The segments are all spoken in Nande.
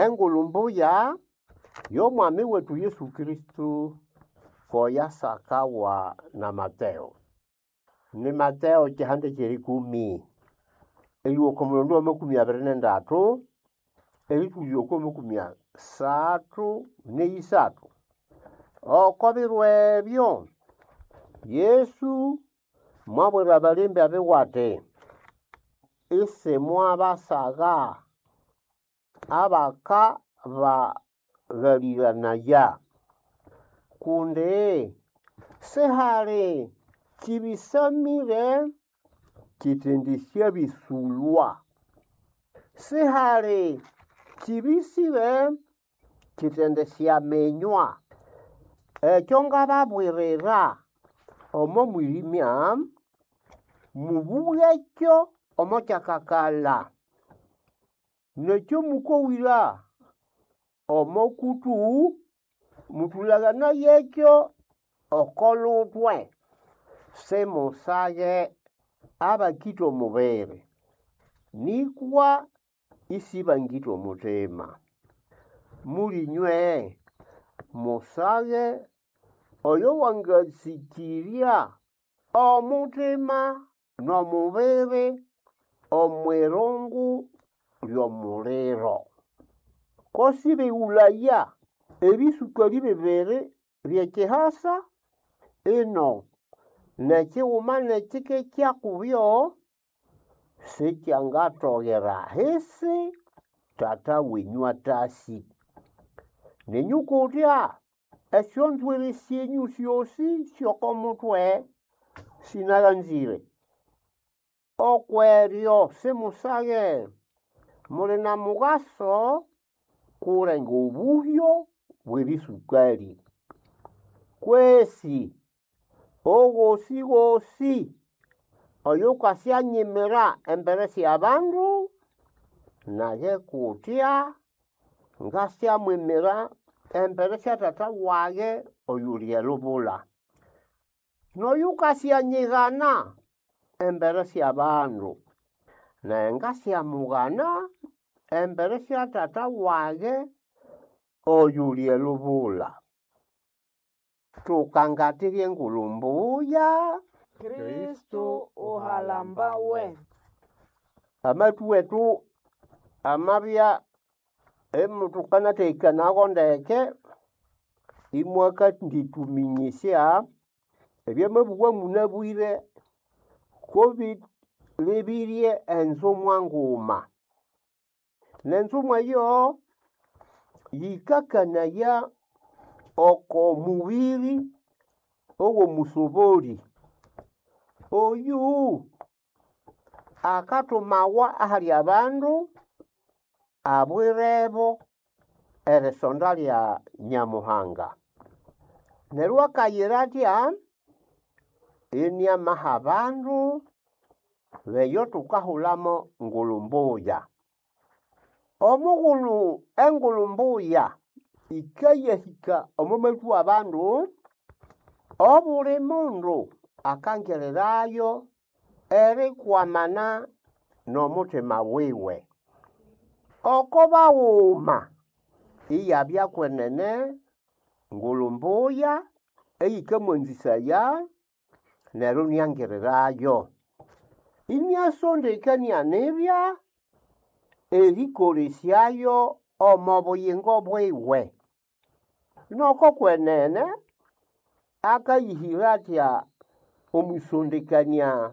Engulu mbuya y'Omwami wetu Yesu Kristo koyasakawa na Mateo. Ni Mateo kihanda ky'erikumi, erĩowa oko mulondo wa 23 erĩtũlya oko 33. Oko biro ebyo Yesu mwabwira abalembi abiwe ati, isimwabasagha abakabaghalĩranaya, kundi sihali kĩbĩsamĩre kitendisyabĩsũlwa, sihali kĩbĩsĩre kitendisyaminywa. Ekyo ngababwirira omo mwĩrĩmya, mũbũgekyo omo kyakakala, n'ekyo mũkowĩra omo kũtũ, mũtũlaganayekyo oko lutwe. Simusage abakĩta omubiri, nĩkwa ĩsĩbangĩta omutima. Mũlĩnywe musage oyo wangatsĩkĩrya omutima n'omubiri omw'irungu ly'omuliro. Ko sĩbĩgũlaya ebĩsũkalĩ bibiri by'ekihasa, ino n'ekiguma n'ekike kyakubyo sikyangatogera ahisi Tata wenyũ atasĩ. Nenyũ kutya esyonzwiri syenyũ syosi sy'oko mutwe sĩnaghanzĩre. Okweryo simusage, muli na mugaso kulenga obuhyo bw'ebĩsũkalĩ. Kwesi ogosĩgosĩ oyukasyanyimira embere sy'abandu, nage kutya ngasyamwimira embere sya Tata wage oyuli elubula. N'oyũkasyanyigana embere sy'abandu, nage ngasyamughana embere sya Tata wage oyuli elubula. Tukangatira Engulu mbuya. Kristo uhalambawe. Amathu wetu amabya imuthukanathekanago ndeke, imwakandituminyisya ebyamabugha munabwire kobilebirye enzumwa nguma. N'enzumwa eyo yikakanaya oko mubiri ow'omusobolĩ. Oyu akathumawa ahali abandu abwirebo erisonda lya Nyamuhanga. Neryo akayira athya? Iniamaha abandu beyo thukahulamo Ngulu Mbuya. Omughulhu Engulu Mbuya yikayahika omo mathu w'abandu, obuli mundu akangirirayo erikwamana n'omutima wiwe. Oko baghuma iyabya kwenene Ngulu Mbuya eyikamwanzisaya neryo iniangirirayo. Iniasondekania nibya erĩkolesyayo omo buyingo bwiwe. Noko kwenene akayihira athya omwisondekania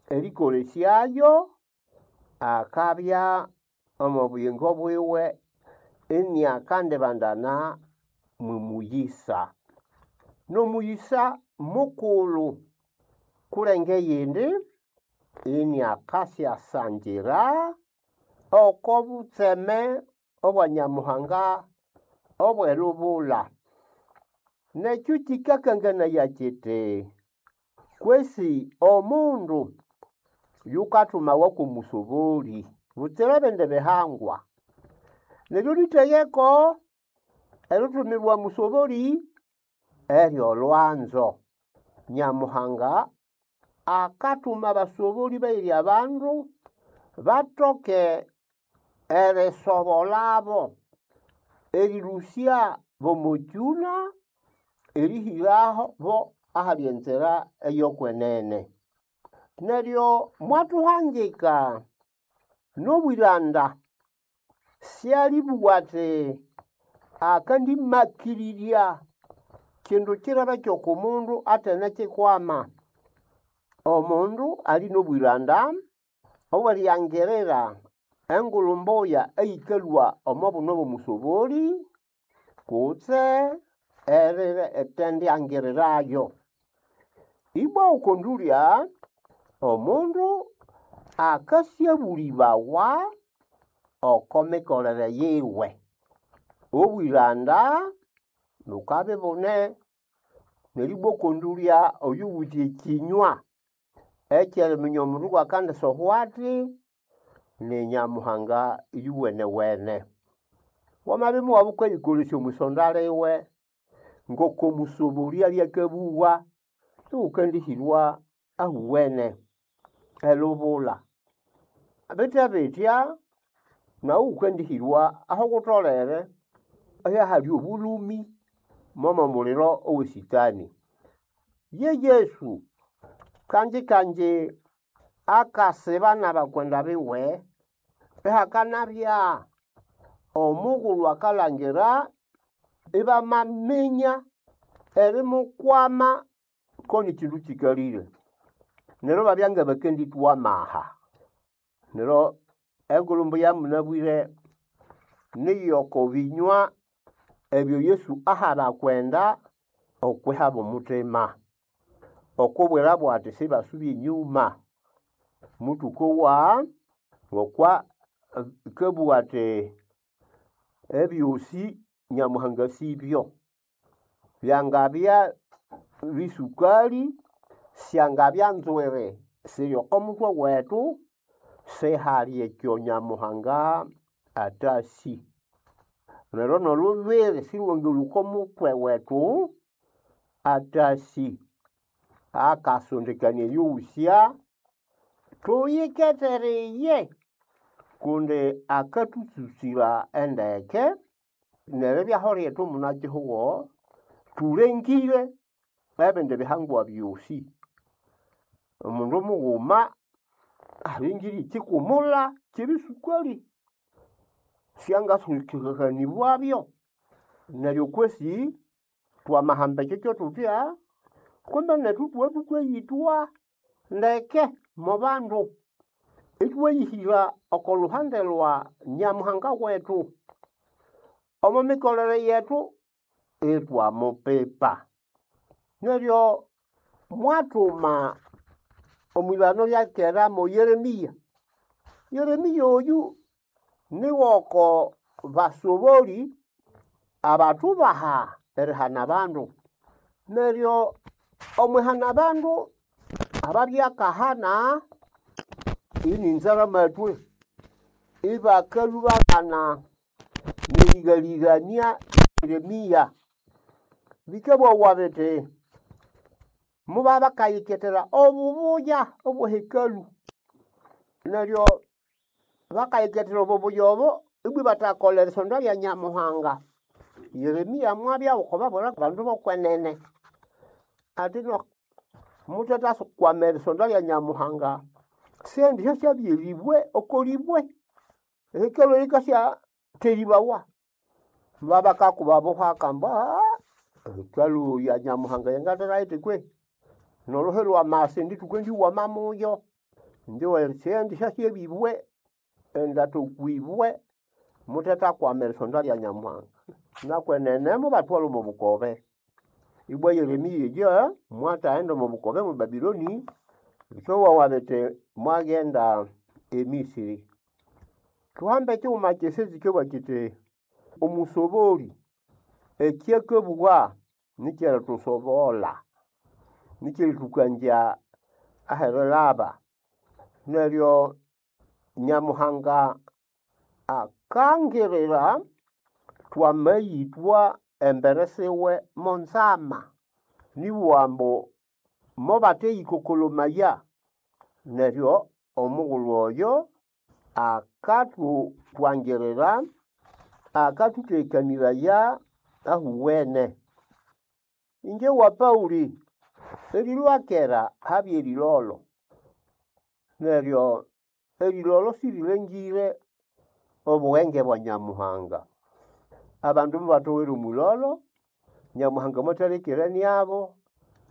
erĩkolesyayo, akabya omo buyingo bwiwe iniakandibandana mw'omuyisa. N'omuyisa mukulhu kulenga eyindi iniakasyasangira oko butseme obwa Nyamuhanga obw'elubula. N'ekyo kikakanganaya kiti kwesi omundu yukathumawa kw'omusobolĩ butsira ebindi bihangwa. Neryo lithegeko erithumirwa musobolĩ ery'olwanzo. Nyamuhanga akathuma abasobolĩ bayiri abandu bathoke erisobolabo. Erilũsya bomokyũna erihĩraho bo ahali enzira eyokwenene. Neryo mwathuhangika n'obwĩranda syalĩbũga athi akandimakĩrĩrya kindu kirebe ky'oko mundu atenekikwama. Omundu ali n'obwĩranda obw'eriyangirira engulhu mbuya eyikalhwa omo buno bw'omusobolĩ kutse eritendiangirirayo. Ibwa oko ndũlya, omundu akasyabũlĩbawa oko mikolere yiwe. Obwĩranda bukabya ibune neribwa oko ndũlya oyuwithe ekinywa ekyeriminya omundu ng'akandisohwa athi ni Nyamuhanga iyuwenewene. Wamabya imuwabya wukayikolesya omwisonda liwe ngoko musobolĩ abya akabugha, iwukandihirwa ahuwene elubula. Bitya bitya, naghu wukandihirwa aho wutholere ihahali obulũmi momo muliro owe Sitani. Ye Yesu kanji kanji akasiba n'abakwenda biwe ihakanabya omughulhu akalhangira ibamaminya erimukwama ko ni kindu kikalire. Neryo ibabya ngabakandithwa amaha. Neryo engulhu mbuya munabwire niyoko binywa ebyo Yesu aha abakwenda okwihabo omuthima okubwirabo ati sibasubye enyuma. Muthũkowa ngokwa akabugha ati ebyosi Nyamuhanga asibyo. Byangabya bisukali, syangabya nzwiri siri oko muthwe wethu, sihali ekyo Nyamuhanga athasi. Neryo n'olhubiri silhwangalhwa oko muthwe wethu athasi. Akasondekania eyoghosya tuyikethereye kundi akathususira endeke neribyaho lyethu munakihugho thulengire ebindi bihangwa byosi. Omundu mughuma alengire ekikumulha kyebisukali syangasukiribwabyo neryo kwesi twamahamba ekyo kyothutya kumbe nethu ithwabya thukayithwa ndeke mo bandu ithwayihira oko luhande lwa Nyamuhanga wethu omo mikolere yethu ithwamupipa. Neryo mwathuma omwilhano lya kera mo Yeremia. Yeremia oyu niwoko basoboli abathubaha erihana abandu. Neryo omwihana abandu ababya akahana ini nzaramathwe ibakalhwa ibaghana nerighalĩghania Yeremia. Bikabughawa bithi mubabya bakayikethera obubuya obwe hekalu. Neryo bakayikethera obubuya obo ibwa ibathakolha erisonda lya Nyamuhanga. Yeremia mwabya wukubabwira abandu b'okwenene ati no muthethakwama erisonda lya Nyamuhanga sendi syasyabya eribwe oko libwe. Ehekalu yikasyatheribawa. Babakakuba buhaka ambu hekalu ya Nyamuhanga yangathera yithi kwei? N'oluhi lw'amasa indi thukendiwama muyo. Indi sendi syasyabya ibwe endatha okw'ibwe muthethakwama erisonda lya Nyamuhanga. Nakwenene mubathwalha omo bukobe. Ibwa Yeremia eyo mwathaghenda omo bukobe mwe Babiloni, bikawawa bithi mwaghenda e Misiri. Thuhambe ekighuma kyisi kikabugha kyithi omusoboli ekyakabugha nikyerithusobolha, nikyerithukanzya aherilhaba. Neryo Nyamuhanga akangirira twamayithwa embere siwe monzama. Nibugha ambu mobatheyikokolomaya neryo omughulhu oyo akathuthwangirira. Akathutekanĩraya ahuwene. Inje wa Pauli erilwa kera habya erilolo, neryo erilolo sirilengire obughenge bwa Nyamuhanga. Abandu mubatowere omwilolo, Nyamuhanga mwathalekere niabo,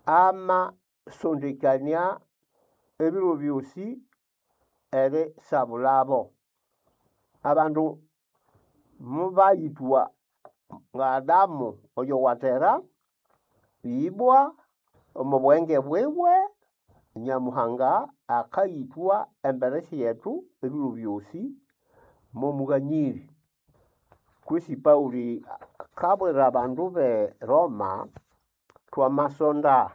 amasondekania ebiro byosi erisabulabo. Abandu mubayithwa nga Adamu oyo wathera, ibwa omo bughenge bwiwe Nyamuhanga akayithwa embere syethu ebiro byosi momughanyiri. Kwesi Pauli akabwira abandu be Roma, twamasonda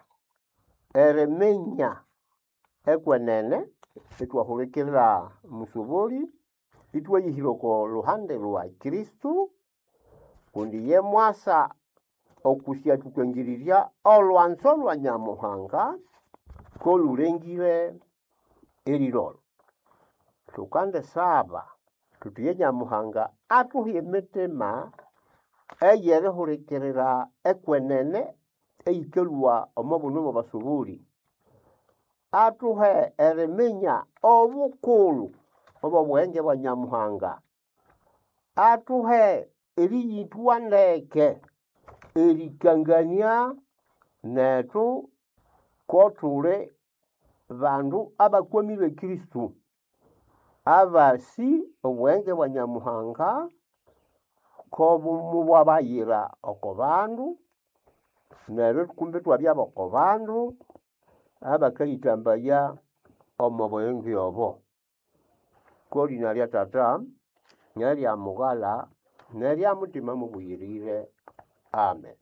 eriminya ekwenene ithwahulikirira Musoboli, ithwayihira oko luhande lwa Kristo, kundi ye mwasa okusyathũkangirirya olwanzo lwa Nyamuhanga kolulengire erilolo. Thukandisaba thuthi ye Nyamuhanga athuhe emitima eyerihulikirira ekwenene eyikalhwa omo bunu bw'abasoboli. Athuhe eriminya obukulhu obw'obughenge bwa Nyamuhanga. Athuhe eriyithwa ndeke erikangania nethu ko thuli bandu abakwamire Kristo, abasi obughenge bwa Nyamuhanga ko mubwabayira oko bandu, neryo kumbe ithwabya b'oko bandu abakayithambaya omo bughenge obo. Kolina lya Tata nerya Mughala nerya Mutima Mubuyirire. Amen.